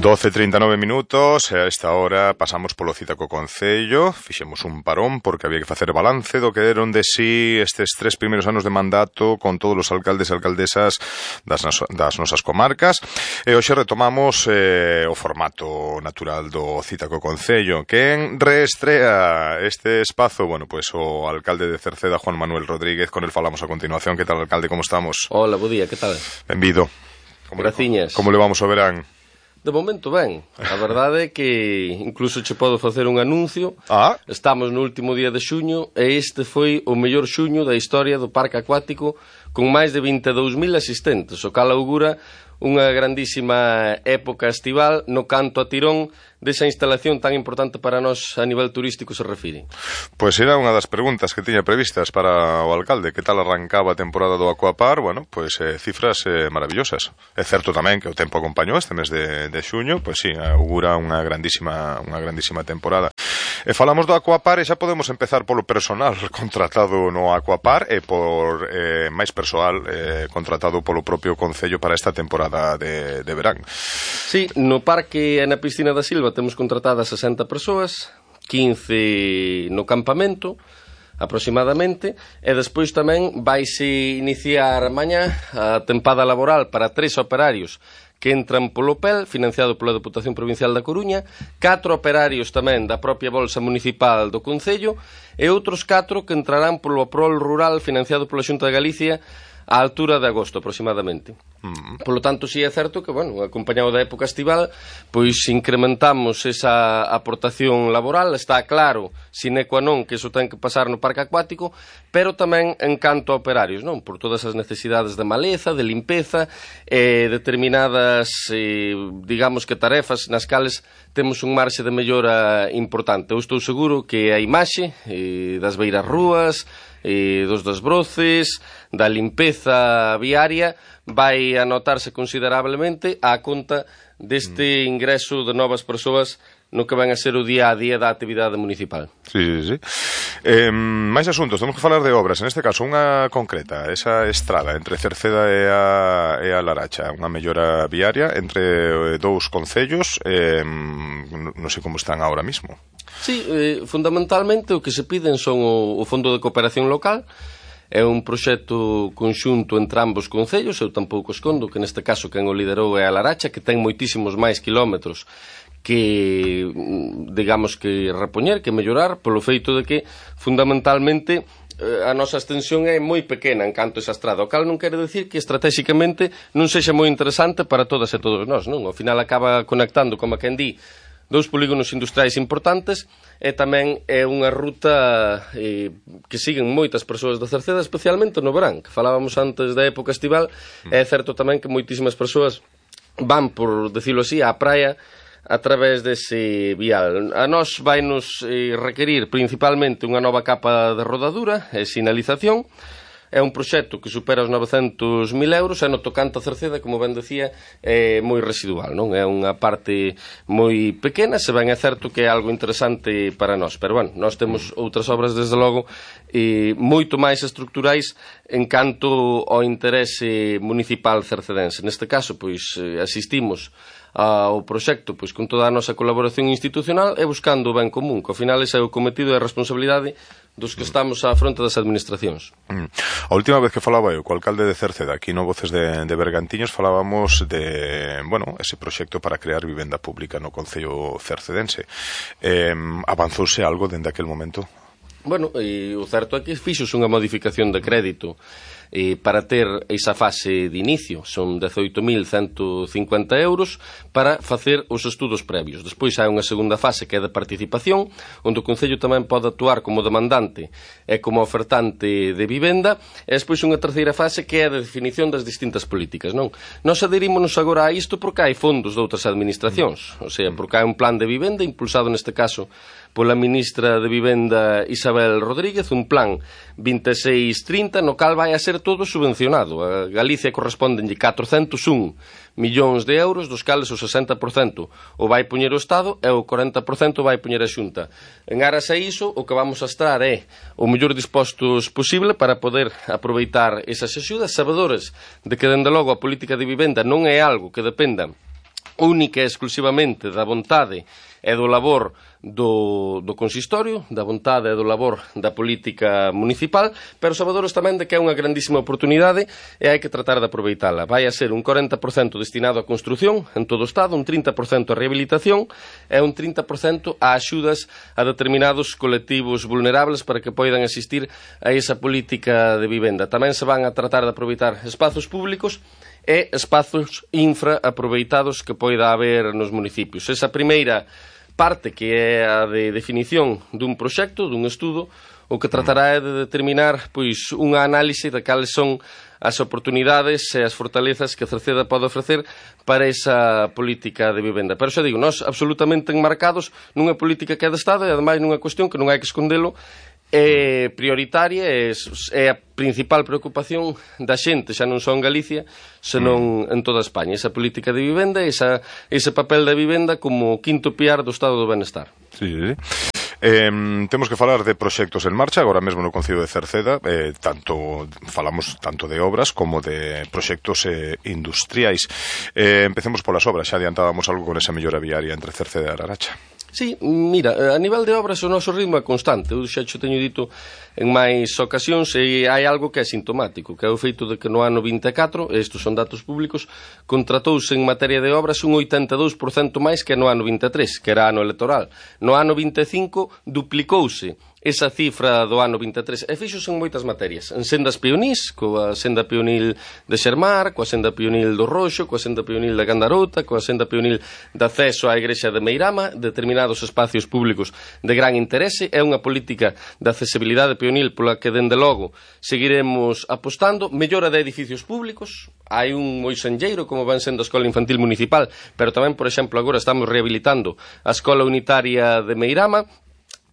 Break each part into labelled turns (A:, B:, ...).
A: 12:39 minutos, e a esta hora pasamos polo cita co Concello, fixemos un parón porque había que facer balance do que deron de sí estes 3 primeiros anos de mandato con todos os alcaldes e alcaldesas das nosas comarcas, e hoxe retomamos o formato natural do cita co Concello. Quen reestrea este espazo? Bueno, pois o alcalde de Cerceda, Juan Manuel Rodríguez, con el falamos a continuación. Que tal, alcalde, como estamos?
B: Hola, bo día, que tal?
A: Benvido.
B: Graciñas.
A: Como levamos o verán?
B: De momento ben, a verdade é que incluso che podo facer un anuncio. Estamos no último día de xuño e este foi o mellor xuño da historia do parque acuático, con máis de 22.000 asistentes, o cal augura unha grandísima época estival no canto a tirón desa instalación tan importante para nós a nivel turístico se refire.
A: Pois era unha das preguntas que tiña previstas para o alcalde. Que tal arrancaba a temporada do Aquapar? Bueno, pois cifras maravillosas. É certo tamén que o tempo acompañou este mes de xuño, pois sí, augura unha grandísima temporada. E falamos do Aquapar e xa podemos empezar polo personal contratado no Aquapar e por máis persoal contratado polo propio Concello para esta temporada de verán.
B: Sí, no parque e na piscina da Silva temos contratadas 60 persoas, 15 no campamento aproximadamente, e despois tamén vaise iniciar mañá a tempada laboral para 3 operarios que entran polo PEL, financiado pola Deputación Provincial da Coruña, 4 operarios tamén da propia Bolsa Municipal do Concello e outros 4 que entrarán polo PROL Rural financiado pola Xunta de Galicia á altura de agosto aproximadamente. Polo tanto, si é certo que, bueno, acompañado da época estival, pois incrementamos esa aportación laboral. Está claro, sine qua non, que iso ten que pasar no parque acuático, pero tamén en canto a operarios, non? Por todas as necesidades de maleza, de limpeza, determinadas, digamos que tarefas nas cales temos un marxe de mellora importante. Eu estou seguro que a imaxe das beiras rúas, dos desbroces, da limpeza viaria, vai anotarse considerablemente á conta deste ingreso de novas persoas no que van a ser o día a día da actividade municipal.
A: Sí. Máis asuntos, temos que falar de obras, en este caso unha concreta, esa estrada entre Cerceda e a Laracha, unha mellora viaria entre dous concellos, non sei como están agora mismo.
B: Sí, fundamentalmente o que se piden son o Fondo de Cooperación Local. É un proxecto conxunto entre ambos concellos. Eu tampouco escondo que neste caso quen o liderou é a Laracha, que ten moitísimos máis kilómetros que, digamos, que repoñer, que mellorar, polo feito de que fundamentalmente a nosa extensión é moi pequena en canto a esa estrada, o cal non quere decir que estratégicamente non sexa moi interesante para todas e todos nós, non? Ao final acaba conectando, como quen di, 2 polígonos industriais importantes e tamén é unha ruta que siguen moitas persoas da Cerceda, especialmente no verán, que falábamos antes da época estival. É certo tamén que moitísimas persoas van, por decirlo así, á praia a través dese vial. A nós vai nos requerir principalmente unha nova capa de rodadura e sinalización. É un proxecto que supera os 900.000 euros e no tocante a Cerceda, como ben decía, é moi residual, non? É unha parte moi pequena, se ben é certo que é algo interesante para nós. Pero, bueno, nós temos outras obras, desde logo, moito máis estructurais en canto ao interese municipal cercedense. Neste caso, pois, asistimos ao proxecto pois con toda a nosa colaboración institucional e buscando o ben común, que ao final ese é o cometido e a responsabilidade dos que estamos á fronte das administracións.
A: A última vez que falaba eu co alcalde de Cerceda, aquí no Voces de Bergantiños, falábamos de, bueno, ese proxecto para crear vivenda pública no Concello cercedense. Avanzouse algo dende aquel momento?
B: Bueno, o certo é que fixos unha modificación de crédito para ter esa fase de inicio. Son 18.150 euros para facer os estudos previos. Despois hai unha segunda fase que é de participación, onde o Concello tamén pode actuar como demandante e como ofertante de vivenda, e despois unha terceira fase que é a de definición das distintas políticas, non? Nós adherímonos agora a isto porque hai fondos de outras administracións, o sea, porque hai un plan de vivenda impulsado neste caso pola ministra de Vivenda Isabel Rodríguez, un plan 2630 no cal vai a ser todo subvencionado. A Galicia correspondenlle 401 millóns de euros, dos cales o 60% o vai poñer o Estado e o 40% vai poñer a Xunta. En aras a iso, o que vamos a estar é o mellor dispostos posible para poder aproveitar esas axudas, sabedores de que, dende logo, a política de vivenda non é algo que dependa única e exclusivamente da vontade e do labor do consistorio, da vontade e do labor da política municipal, pero sabedores tamén de que é unha grandísima oportunidade e hai que tratar de aproveitala. Vai a ser un 40% destinado á construción en todo o Estado, un 30% a rehabilitación e un 30% a axudas a determinados colectivos vulnerables para que poidan asistir a esa política de vivenda. Tamén se van a tratar de aproveitar espazos públicos e espazos infra aproveitados que poida haber nos municipios. Esa primeira parte, que é a de definición dun proxecto, dun estudo, o que tratará é de determinar pois unha análise de cales son as oportunidades e as fortalezas que Cerceda pode ofrecer para esa política de vivenda. Pero xa digo, nós absolutamente enmarcados nunha política que é de Estado e ademais nunha cuestión que non hai que escondelo, é prioritaria, é a principal preocupación da xente, xa non só en Galicia, senón en toda España. Esa política de vivenda, ese papel da vivenda como quinto piar do estado do benestar.
A: Sí. Temos que falar de proxectos en marcha agora mesmo no Concello de Cerceda, falamos tanto de obras como de proxectos industriais. Empecemos polas obras, xa adiantábamos algo con esa mellora viaria entre Cerceda e Laracha.
B: Sí, mira, a nivel de obras o noso ritmo é constante. Eu xa xo teño dito en máis ocasións e hai algo que é sintomático, que é o feito de que no ano 24, estes son datos públicos, contratouse en materia de obras un 82% máis que no ano 23, que era ano electoral. No ano 25 duplicouse esa cifra do ano 23, e fixos en moitas materias, en sendas peonís, coa senda peonil de Xermar, coa senda peonil do Roxo, coa senda peonil da Gandarota, coa senda peonil de acceso á igrexa de Meirama, determinados espacios públicos de gran interese. É unha política de accesibilidade peonil pola que, dende logo, seguiremos apostando. Mellora de edificios públicos, hai un moi senlleiro como van sendo a Escola Infantil Municipal, pero tamén, por exemplo, agora estamos rehabilitando a Escola Unitaria de Meirama.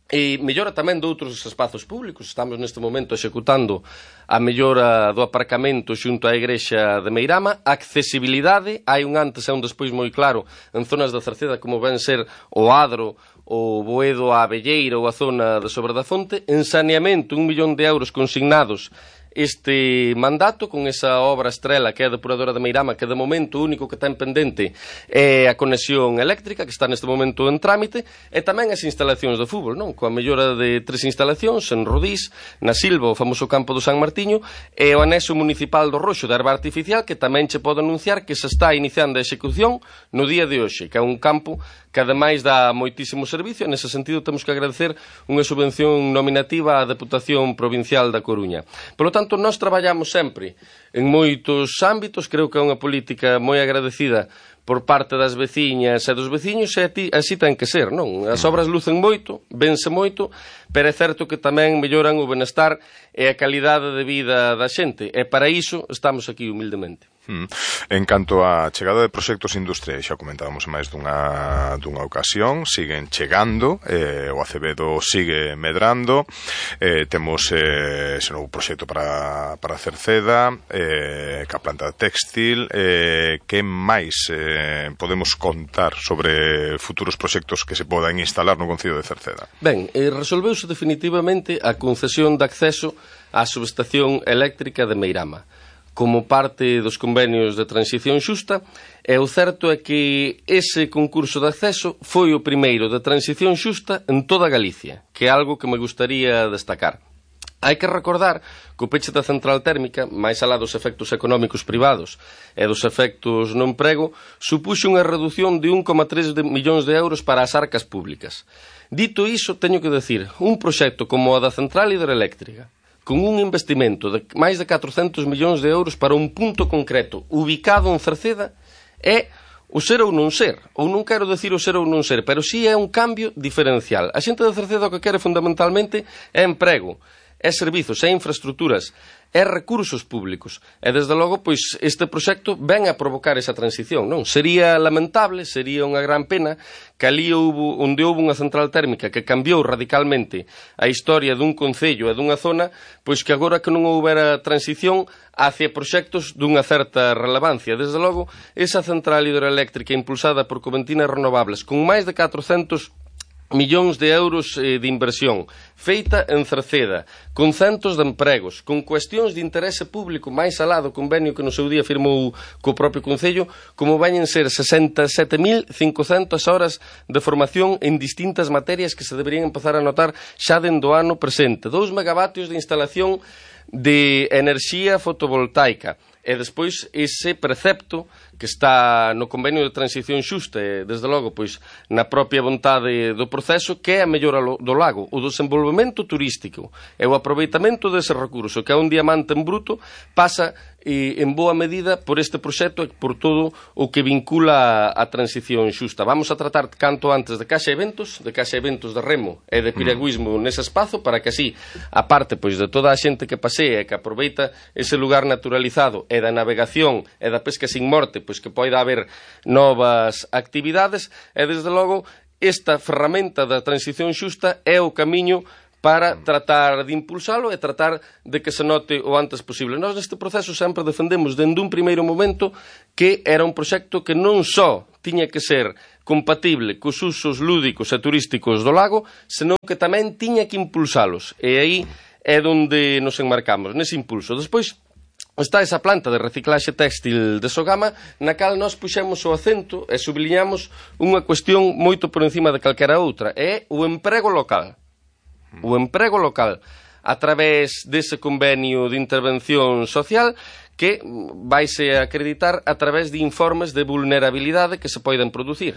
B: E mellora tamén de outros espazos públicos. Estamos neste momento executando a mellora do aparcamento xunto á igrexa de Meirama. Accesibilidade, hai un antes e un despois moi claro en zonas da Cerceda como ven ser o Adro, o Boedo, a Abelleira ou a zona de Sobre da Fonte. En saneamento, 1 millón de euros consignados este mandato con esa obra estrela que é a depuradora de Meirama, que de momento o único que ten pendente é a conexión eléctrica, que está neste momento en trámite, e tamén as instalacións de fútbol, non? Coa mellora de 3 instalacións en Rodís, na Silva, o famoso campo do San Martiño, e o anexo municipal do Roxo de Herba Artificial, que tamén che pode anunciar que se está iniciando a execución no día de hoxe, que é un campo que ademais dá moitísimo servicio. En ese sentido temos que agradecer unha subvención nominativa á Deputación Provincial da Coruña. Por lo tanto, nós traballamos sempre en moitos ámbitos. Creo que é unha política moi agradecida por parte das veciñas e dos veciños, e así ten que ser, non? As obras lucen moito, vense moito, pero é certo que tamén melloran o benestar e a calidade de vida da xente, e para iso estamos aquí humildemente.
A: En canto á chegada de proxectos industriais, xa comentábamos máis dunha ocasión, siguen chegando, o Acevedo sigue medrando, temos ese novo proxecto para Cerceda, que a planta textil. Que máis podemos contar sobre futuros proxectos que se podan instalar no Concello de Cerceda?
B: Ben, resolveuse definitivamente a concesión de acceso á subestación eléctrica de Meirama como parte dos convenios de transición xusta, e o certo é que ese concurso de acceso foi o primeiro de transición xusta en toda Galicia, que é algo que me gustaría destacar. Hai que recordar que o peche da central térmica, máis alá dos efectos económicos privados e dos efectos no emprego, supuxo unha reducción de 1,3 millóns de euros para as arcas públicas. Dito iso, teño que decir, un proxecto como o da central hidroeléctrica, con un investimento de máis de 400 millóns de euros para un punto concreto ubicado en Cerceda, é o ser ou non ser. Ou non quero decir o ser ou non ser, pero sí é un cambio diferencial. A xente de Cerceda o que quere fundamentalmente é emprego, é servizos, é infraestructuras, é recursos públicos. E, desde logo, pois, este proxecto ven a provocar esa transición, non? Sería lamentable, sería unha gran pena que ali onde houve unha central térmica que cambiou radicalmente a historia dun concello e dunha zona, pois que agora que non houbera transición hacia proxectos dunha certa relevancia. Desde logo, esa central hidroeléctrica impulsada por Coventinas Renovables, con máis de 400 millóns de euros de inversión, feita en Cerceda, con centos de empregos, con cuestións de interese público máis alá do convenio que no seu día firmou co propio Concello, como veñen ser 67.500 horas de formación en distintas materias que se deberían empezar a notar xa dentro do ano presente. 2 megavatios de instalación de enerxía fotovoltaica. E despois ese precepto que está no convenio de transición xusta e, desde logo, pois, na propia vontade do proceso, que é a mellora do lago, o desenvolvemento turístico e o aproveitamento dese recurso, que é un diamante en bruto, pasa en boa medida por este proxecto e por todo o que vincula a transición xusta. Vamos a tratar canto antes de caixa eventos de remo e de piragüismo nese espazo, para que así, aparte pois de toda a xente que pasea e que aproveita ese lugar naturalizado e da navegación e da pesca sin morte, pois que poida haber novas actividades e, desde logo, esta ferramenta da transición xusta é o camiño para tratar de impulsalo e tratar de que se note o antes posible. Nós neste proceso sempre defendemos dende un primeiro momento que era un proxecto que non só tiña que ser compatible cos usos lúdicos e turísticos do lago, senón que tamén tiña que impulsalos. E aí é onde nos enmarcamos, nese impulso. Despois está esa planta de reciclaxe téxtil de Sogama, na cal nós puxemos o acento e subliñamos unha cuestión moito por encima de calquera outra, é o emprego local. O emprego local, a través dese convenio de intervención social que vaise a acreditar a través de informes de vulnerabilidade que se poden producir.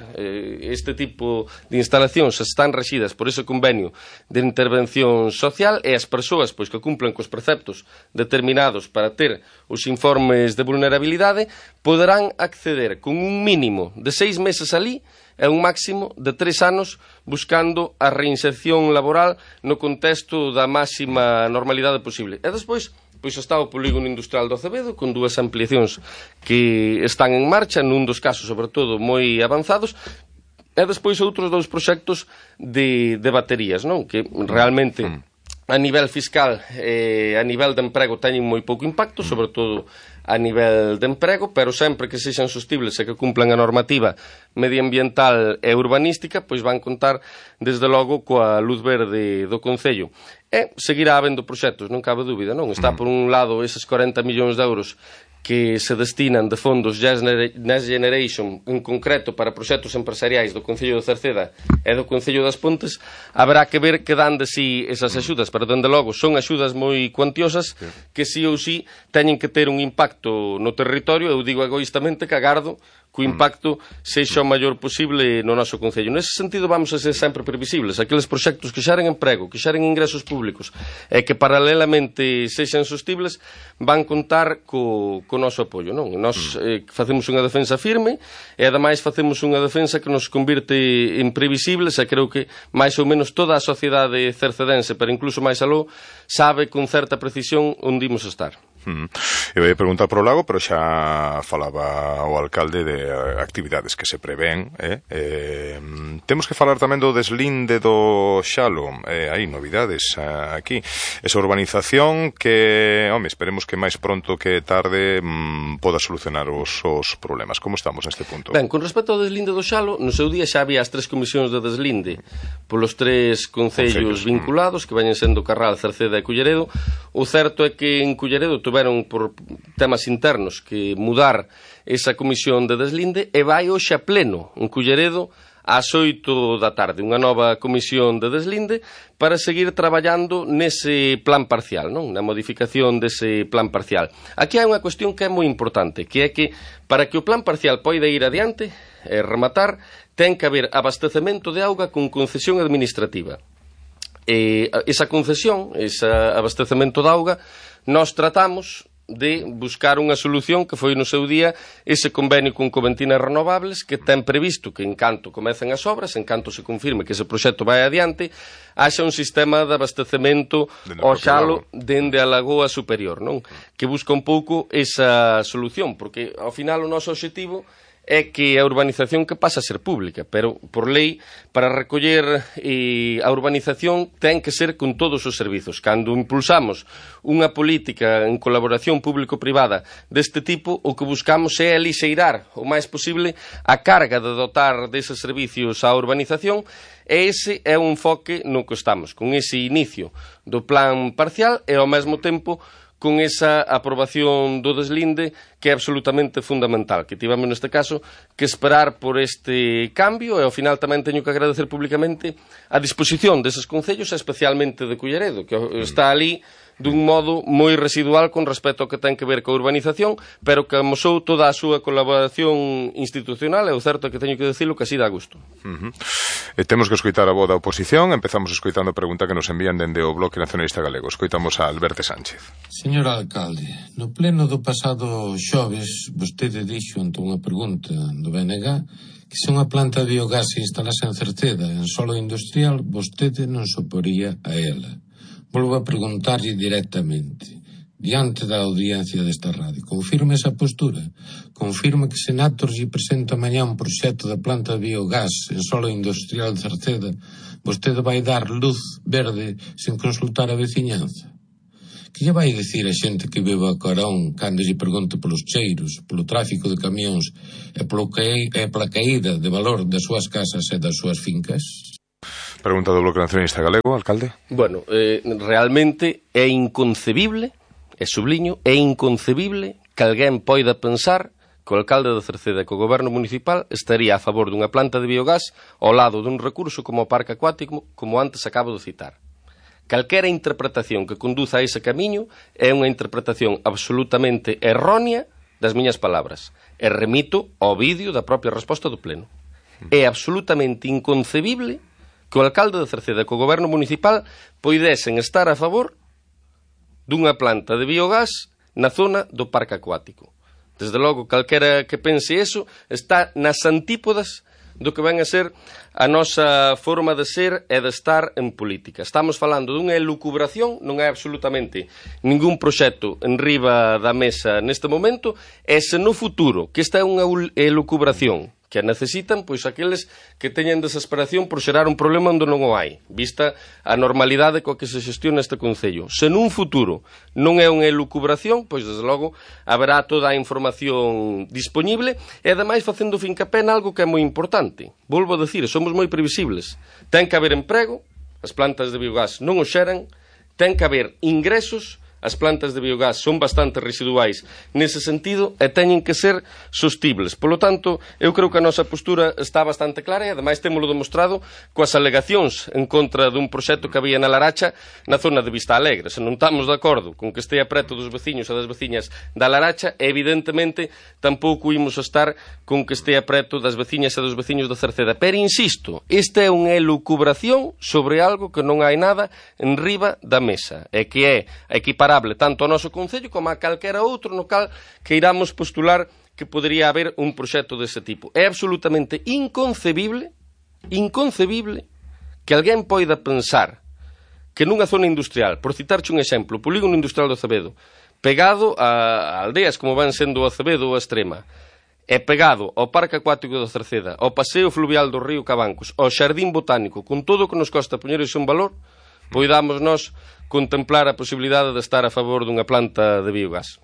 B: Este tipo de instalacións están rexidas por ese convenio de intervención social e as persoas pois que cumplen cos preceptos determinados para ter os informes de vulnerabilidade poderán acceder con un mínimo de 6 meses alí e un máximo de 3 anos buscando a reinserción laboral no contexto da máxima normalidade posible. E despois, pois está o polígono industrial do Acevedo con 2 ampliacións que están en marcha, nun dos casos, sobre todo, moi avanzados, e despois outros 2 proxectos de baterías, non? Que realmente a nivel fiscal e a nivel de emprego teñen moi pouco impacto, sobre todo a nivel de emprego, pero sempre que sexan sostibles e que cumplan a normativa medioambiental e urbanística, pois van contar, desde logo, coa luz verde do Concello. E seguirá habendo proxectos, non cabe dúbida, non? Está, por un lado, eses 40 millóns de euros que se destinan de fondos Next Generation, en concreto para proxectos empresariais do Concello de Cerceda e do Concello das Pontes. Haberá que ver que dan de si esas axudas, pero, dende logo, son axudas moi cuantiosas que si ou si teñen que ter un impacto no territorio. Eu digo egoístamente que agardo que o impacto sexa o maior posible no noso Concello. Nese sentido vamos a ser sempre previsibles. Aqueles proxectos que xeren emprego, que xeren ingresos públicos e que paralelamente sexan sostibles van contar co noso apoio, non? Nós facemos unha defensa firme e ademais facemos unha defensa que nos convirte en previsibles e creo que máis ou menos toda a sociedade cercedense, pero incluso máis aló, sabe con certa precisión onde imos estar.
A: Eu ia preguntar pro lago, pero xa falaba o alcalde de actividades que se prevén. Temos que falar tamén do deslinde do Xalo. Hai novidades aquí. Esa urbanización que, esperemos que máis pronto que tarde poda solucionar os problemas. Como estamos neste punto?
B: Ben, con respecto ao deslinde do Xalo, no seu día xa había as 3 comisións de deslinde polos 3 concellos vinculados, que veñen sendo Carral, Cerceda e Culleredo. O certo é que en Culleredo tuveron por temas internos que mudar esa comisión de deslinde e vai hoxe a pleno en Culleredo ás 8 da tarde, unha nova comisión de deslinde para seguir traballando nese plan parcial, non? Na modificación dese plan parcial. Aquí hai unha cuestión que é moi importante, que é que para que o plan parcial poida ir adiante e rematar, ten que haber abastecemento de auga con concesión administrativa. Esa concesión, ese abastecemento de auga, nós tratamos de buscar unha solución que foi no seu día ese convenio con Coventinas Renovables, que ten previsto que en canto comecen as obras, en canto se confirme que ese proxecto vai adiante, haxa un sistema de abastecemento ao Xalo dende a Lagoa Superior, non? Que busca un pouco esa solución, porque ao final o noso obxectivo é que a urbanización que pasa a ser pública, pero por lei, para recoller a urbanización ten que ser con todos os servizos. Cando impulsamos unha política en colaboración público-privada deste tipo, o que buscamos é alixeirar o máis posible a carga de dotar deses servicios á urbanización, e ese é un enfoque no que estamos, con ese inicio do plan parcial e ao mesmo tempo con esa aprobación do deslinde que é absolutamente fundamental, que tivemos neste caso que esperar por este cambio, e ao final tamén teño que agradecer públicamente a disposición deses concellos, especialmente de Culleredo, que está ali dun modo moi residual con respecto ao que ten que ver coa urbanización, pero que amosou toda a súa colaboración institucional, e o certo é que teño que dicilo que así dá gusto.
A: Temos que escoitar a voz da oposición. Empezamos escoitando a pregunta que nos envían dende o Bloque Nacionalista Galego. Escoitamos a Alberto Sánchez.
C: Señor alcalde, no pleno do pasado xoves, vostede dixo ante unha pregunta do BNG que se unha planta de biogás se instalase en Cerceda, en solo industrial, vostede non se oporía a ela. Volvo a preguntarlle directamente, diante da audiencia desta radio, confirma esa postura? Confirma que se Nator lle presenta mañá un proxecto de planta de biogás en solo industrial de Cerceda, vostede vai dar luz verde sen consultar a veciñanza? Que lle vai dicir a xente que vive a Carón cando lle pregunte polos cheiros, polo tráfico de camións e pola caída de valor das súas casas e das súas fincas?
A: Pregunta do Bloque Nacionalista Galego, alcalde.
B: Bueno, realmente é inconcebible, e subliño, é inconcebible que alguén poida pensar que o alcalde de Cerceda e que o goberno municipal estaría a favor dunha planta de biogás ao lado dun recurso como o parque acuático, como antes acabo de citar. Calquera interpretación que conduza a ese camiño é unha interpretación absolutamente errónea das miñas palabras. E remito ao vídeo da propia resposta do Pleno. É absolutamente inconcebible que o alcalde de Cerceda e que o goberno municipal poidesen estar a favor dunha planta de biogás na zona do parque acuático. Desde logo, calquera que pense eso está nas antípodas do que ven a ser a nosa forma de ser e de estar en política. Estamos falando dunha elucubración, non é absolutamente ningún proxecto en riba da mesa neste momento, e se no futuro, que esta é unha elucubración que necesitan, pois aqueles que teñen desesperación por xerar un problema onde non o hai, vista a normalidade coa que se xestiona este concello. Se nun futuro non é unha elucubración, pois desde logo haberá toda a información disponible, e ademais facendo fincapé en algo que é moi importante. Volvo a decir, somos moi previsibles. Ten que haber emprego, as plantas de biogás non o xeran, ten que haber ingresos, as plantas de biogás son bastante residuais nese sentido e teñen que ser sostibles. Polo tanto, eu creo que a nosa postura está bastante clara, e ademais témolo demostrado coas alegacións en contra dun proxecto que había na Laracha na zona de Vista Alegre. Se non estamos de acordo con que estea preto dos veciños e das veciñas da Laracha, evidentemente tampouco imos estar con que estea preto das veciñas e dos veciños da Cerceda. Pero insisto, esta é unha elucubración sobre algo que non hai nada en riba da mesa, e que é equiparable tanto ao noso concello como a calquera outro no cal que iramos postular que podería haber un proxecto dese tipo. É absolutamente inconcebible que alguén poida pensar que nunha zona industrial, por citarche un exemplo, o polígono industrial do Acevedo, pegado a aldeas como van sendo o Acevedo ou a Extrema, e pegado ao Parque Acuático da Cerceda, ao Paseo Fluvial do Río Cabancos, ao Xardín Botánico, con todo o que nos costa poñer iso en valor, poidamos nós contemplar a posibilidade de estar a favor dunha planta de biogás.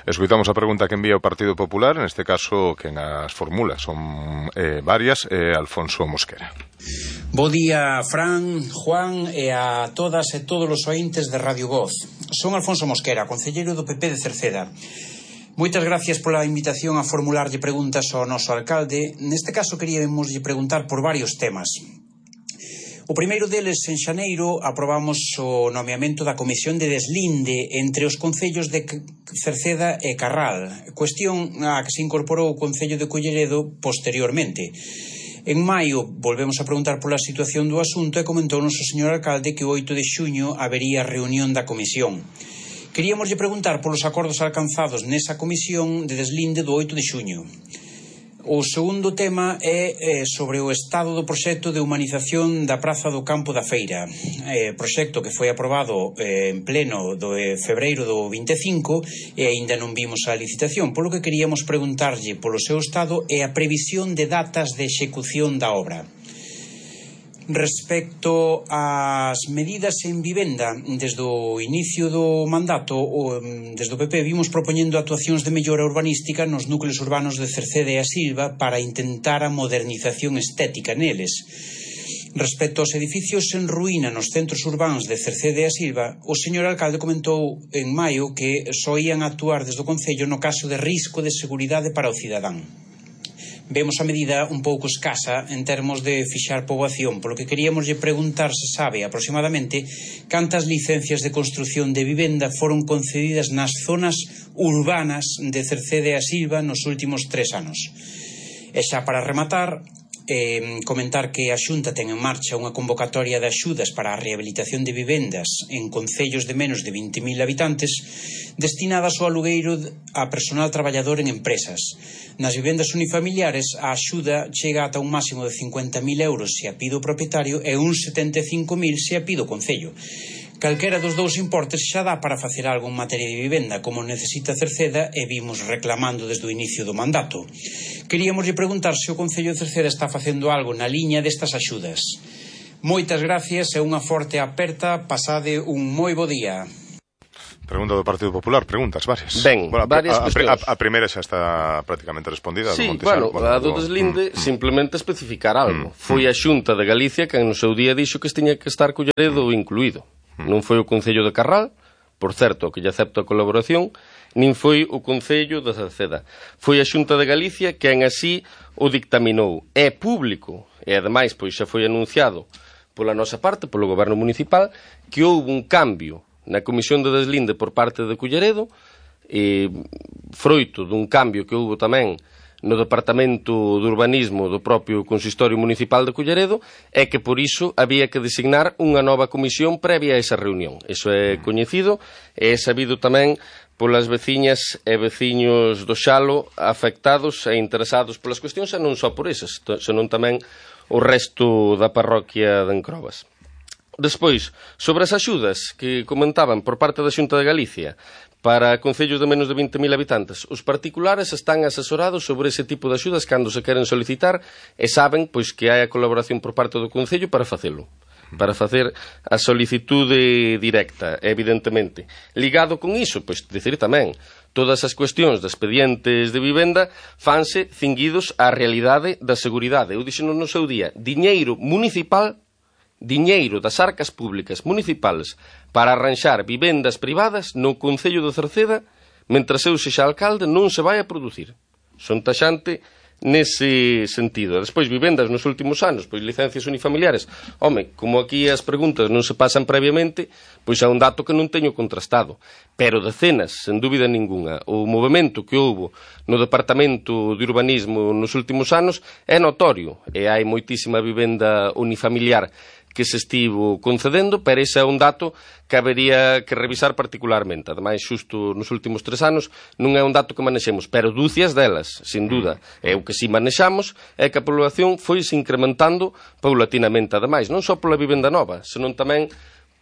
A: Escoitamos a pregunta que envía o Partido Popular, neste caso quen as formula son varias, Alfonso Mosquera.
D: Bo día, Fran, Juan e a todas e todos os ointes de Radio Voz. Son Alfonso Mosquera, concelleiro do PP de Cerceda. Moitas gracias pola invitación a formularlle preguntas ao noso alcalde. Neste caso queríamos preguntar por varios temas. O primeiro deles, en xaneiro, aprobamos o nomeamento da Comisión de Deslinde entre os concellos de Cerceda e Carral, cuestión a que se incorporou o Concello de Culleredo posteriormente. En maio volvemos a preguntar pola situación do asunto e comentou o noso señor alcalde que o 8 de xuño habería reunión da comisión. Queríamoslle preguntar polos acordos alcanzados nesa comisión de deslinde do 8 de xuño. O segundo tema é sobre o estado do proxecto de humanización da Praza do Campo da Feira, proxecto que foi aprobado en pleno do febreiro do 25 e aínda non vimos a licitación, polo que queríamos preguntarlle polo seu estado e a previsión de datas de execución da obra. Respecto ás medidas en vivenda, desde o inicio do mandato, desde o PP vimos propoñendo actuacións de mellora urbanística nos núcleos urbanos de Cerceda e a Silva para intentar a modernización estética neles. Respecto aos edificios en ruína nos centros urbanos de Cerceda e a Silva, o señor alcalde comentou en maio que só ían actuar desde o Concello no caso de risco de seguridade para o cidadán. Vemos a medida un pouco escasa en termos de fixar poboación, polo que queríamos lle preguntar se sabe aproximadamente cantas licencias de construción de vivenda foron concedidas nas zonas urbanas de Cerceda e a Silva nos últimos 3 anos. E xa para rematar, comentar que a Xunta ten en marcha unha convocatoria de axudas para a rehabilitación de vivendas en concellos de menos de 20.000 habitantes destinadas ao alugueiro a personal traballador en empresas. Nas vivendas unifamiliares a axuda chega ata un máximo de 50.000 euros se a pide o propietario e uns 75.000 se a pide o Concello. Calquera dos dous importes xa dá para facer algo en materia de vivenda, como necesita Cerceda e vimos reclamando desde o inicio do mandato. Queríamos lle preguntar se o Concello de Cerceda está facendo algo na liña destas axudas. Moitas gracias e unha forte aperta, pasade un moi bo día.
A: Pregunta do Partido Popular, preguntas varias.
B: Ben, varias cuestións.
A: A primeira xa está prácticamente respondida.
B: Sí, a do deslinde simplemente especificar algo. Foi a Xunta de Galicia que no seu día dixo que tiña que estar Culleredo incluído. Non foi o Concello de Carral, por certo, que lle acepto a colaboración, nin foi o Concello de Cerceda. Foi a Xunta de Galicia quen así o dictaminou. É público, e ademais pois xa foi anunciado pola nosa parte, polo Goberno Municipal, que houve un cambio na Comisión de Deslinde por parte de Culleredo, froito dun cambio que houve tamén no Departamento de Urbanismo do propio Consistorio Municipal de Culleredo, é que por iso había que designar unha nova comisión previa a esa reunión. Iso é coñecido e é sabido tamén polas veciñas e veciños do Xalo afectados e interesados polas cuestións, e non só por esas, senón tamén o resto da parroquia de Encrobas. Despois, sobre as axudas que comentaban por parte da Xunta de Galicia para concellos de menos de 20.000 habitantes, os particulares están asesorados sobre ese tipo de axudas cando se queren solicitar e saben pois que hai a colaboración por parte do Concello para facelo, para facer a solicitude directa, evidentemente. Ligado con iso, pois dicir tamén, todas as cuestións de expedientes de vivenda fanse cinguidos á realidade da seguridade. Eu dixeno no seu día, diñeiro municipal, diñeiro das arcas públicas municipales para arranxar vivendas privadas no Concello de Cerceda, mentras eu sexa alcalde, non se vai a producir. Son taxante nese sentido. Despois, vivendas nos últimos anos, pois licencias unifamiliares. Home, como aquí as preguntas non se pasan previamente, pois é un dato que non teño contrastado. Pero decenas, sen dúbida ninguna. O movimento que houbo no Departamento de Urbanismo nos últimos anos é notorio, e hai moitísima vivenda unifamiliar que se estivo concedendo, pero ese é un dato que habería que revisar particularmente. Ademais, xusto nos últimos 3 anos, non é un dato que manexemos, pero dúcias delas, sin duda. E o que si manexamos é que a población foi se incrementando paulatinamente. Ademais, non só pola vivenda nova, senón tamén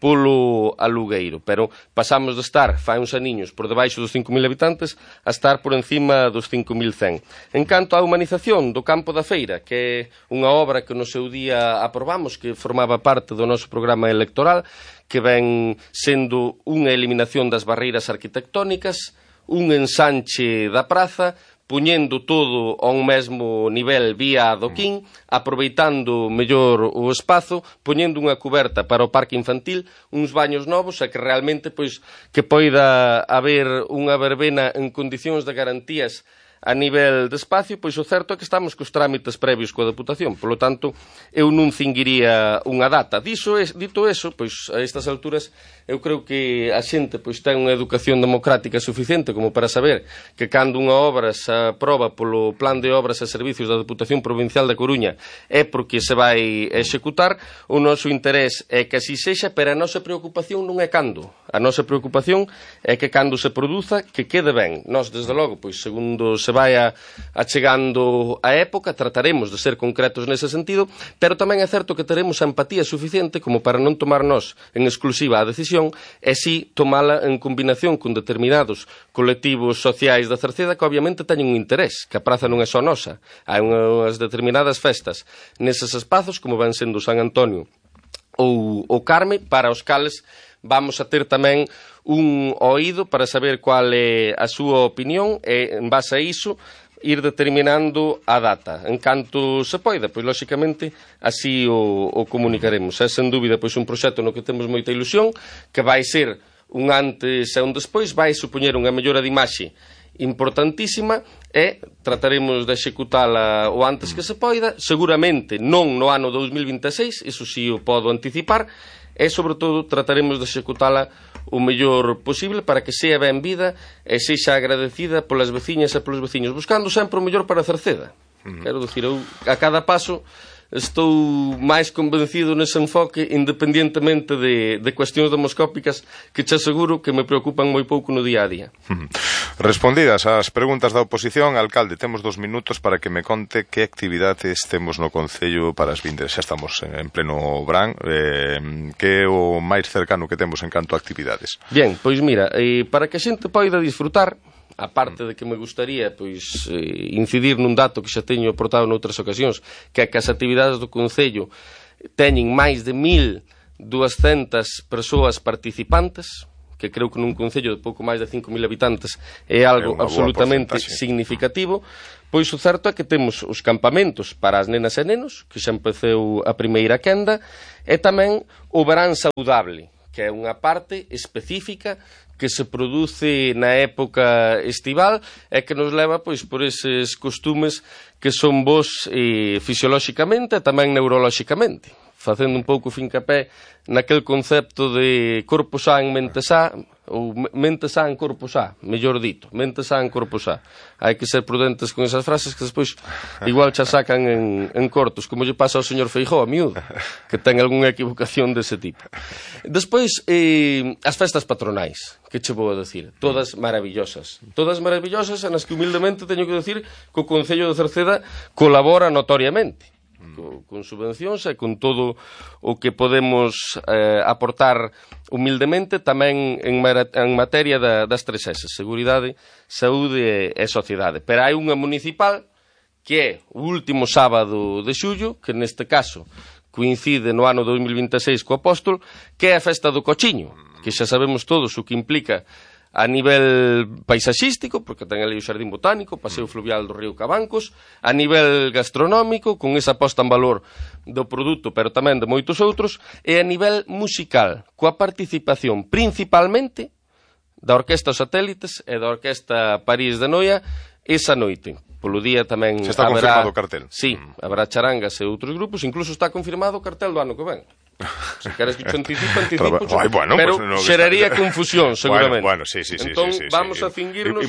B: polo alugueiro, pero pasamos de estar, fai uns aniños, por debaixo dos 5.000 habitantes, a estar por encima dos 5.100. En canto á humanización do Campo da Feira, que é unha obra que no seu día aprobamos, que formaba parte do noso programa electoral, que ven sendo unha eliminación das barreiras arquitectónicas, un ensanche da praza, puñendo todo a un mesmo nivel vía adoquín, aproveitando mellor o espazo, poñendo unha cuberta para o parque infantil, uns baños novos, e que realmente pois que poida haber unha verbena en condicións de garantías a nivel de espacio, pois o certo é que estamos cos trámites previos coa Deputación. Polo tanto, eu non cinguiría unha data. Dito eso, pois a estas alturas, eu creo que a xente pois ten unha educación democrática suficiente como para saber que cando unha obra se aproba polo Plan de Obras e Servicios da Deputación Provincial da Coruña é porque se vai executar. O noso interés é que así sexa, pero a nosa preocupación non é cando. A nosa preocupación é que cando se produza, que quede ben. Nós, desde logo, pois segundo se se vaya achegando a época, trataremos de ser concretos nese sentido, pero tamén é certo que teremos a empatía suficiente como para non tomar nós en exclusiva a decisión e si tomala en combinación con determinados colectivos sociais da Cerceda que obviamente teñen un interés, que a praza non é só nosa. Hai unhas determinadas festas neses espazos, como ven sendo San Antonio ou o Carme, para os cales vamos a ter tamén un oído para saber cual é a súa opinión e, en base a iso, ir determinando a data. En canto se poida, pois, lóxicamente, así o comunicaremos. É, sen dúbida, pois, un proxecto no que temos moita ilusión, que vai ser un antes e un despois, vai supoñer unha mellora de imaxe importantísima e trataremos de executala o antes que se poida, seguramente non no ano 2026, iso si o podo anticipar, e, sobre todo, trataremos de executala o mellor posible para que sea ben vida e sexa agradecida polas veciñas e polos veciños, buscando sempre o mellor para Cerceda. Quero dicir, eu a cada paso estou máis convencido nese enfoque, independientemente de cuestións demoscópicas que che aseguro que me preocupan moi pouco no día a día.
A: Respondidas as preguntas da oposición, alcalde, temos 2 minutos para que me conte que actividades temos no Concello para as vindes. Xa estamos en pleno verán, que é o máis cercano que temos en canto a actividades?
B: Bien, pois mira, para que a xente poida disfrutar, a parte de que me gustaría pois incidir nun dato que xa teño aportado noutras ocasións, que é que as actividades do Concello teñen máis de 1.200 persoas participantes, que creo que nun Concello de pouco máis de 5.000 habitantes é algo absolutamente significativo. Pois o certo é que temos os campamentos para as nenas e nenos, que xa empeceu a primeira quenda, e tamén o verán saudable, que é unha parte específica que se produce na época estival e que nos leva pois por eses costumes que son bons fisiolóxicamente e tamén neurolóxicamente, facendo un pouco fincapé naquel concepto de corpo sa en mente sa, ou mente sa en corpo sa, mellor dito, mente sa en corpo sa. Hai que ser prudentes con esas frases que despois igual xa sacan en cortos, como lle pasa ao señor Feijóo, a miúdo, que ten algunha equivocación dese tipo. Despois, as festas patronais, que che vou a decir, todas maravillosas en as que humildemente teño que decir que o Concello de Cerceda colabora notoriamente, con subvencións e con todo o que podemos aportar humildemente, tamén en materia das 3 S, seguridade, saúde e sociedade. Pero hai unha municipal que é o último sábado de xullo, que neste caso coincide no ano 2026 co Apóstol, que é a festa do Cochiño, que xa sabemos todos o que implica a nivel paisaxístico, porque ten ali o Xardín Botánico, o paseo fluvial do río Cabancos, a nivel gastronómico, con esa posta en valor do produto, pero tamén de moitos outros, e a nivel musical, coa participación principalmente da Orquesta Satélites e da Orquesta París de Noia esa noite. Polo día tamén
A: se está confirmado o cartel.
B: Sí, habrá charangas e outros grupos, incluso está confirmado o cartel do ano que ven. Se queres que te anticipo,
A: bueno,
B: pero
A: pues no,
B: xeraría confusión, seguramente.
A: Bueno, sí.
B: Entón, vamos a cingirnos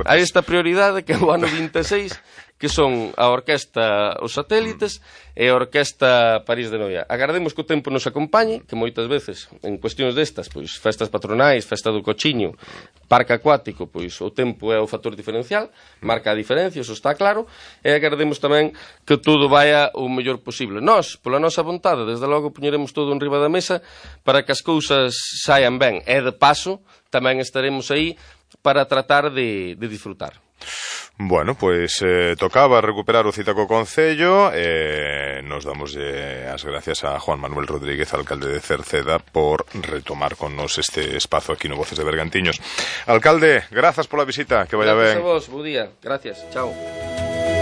B: a esta prioridade que é o ano 26, que son a Orquesta Os Satélites e a Orquesta París de Noia. Agardemos que o tempo nos acompañe, que moitas veces, en cuestións destas, pois festas patronais, festa do Cochiño, parque acuático, pois o tempo é o factor diferencial, marca a diferencia, iso está claro, e agardemos tamén que todo vaya o mellor posible. Nós, pola nosa vontade, desde logo, poñeremos todo en riba da mesa para que as cousas saian ben, e de paso tamén estaremos aí para tratar de disfrutar.
A: Bueno, pois tocaba recuperar o cita co Concello e nos damos as gracias a Juan Manuel Rodríguez, alcalde de Cerceda, por retomar con nos este espazo aquí no Voces de Bergantiños. Alcalde, grazas pola visita, que vaya ben.
B: Gracias a vos, bo día, gracias, chao.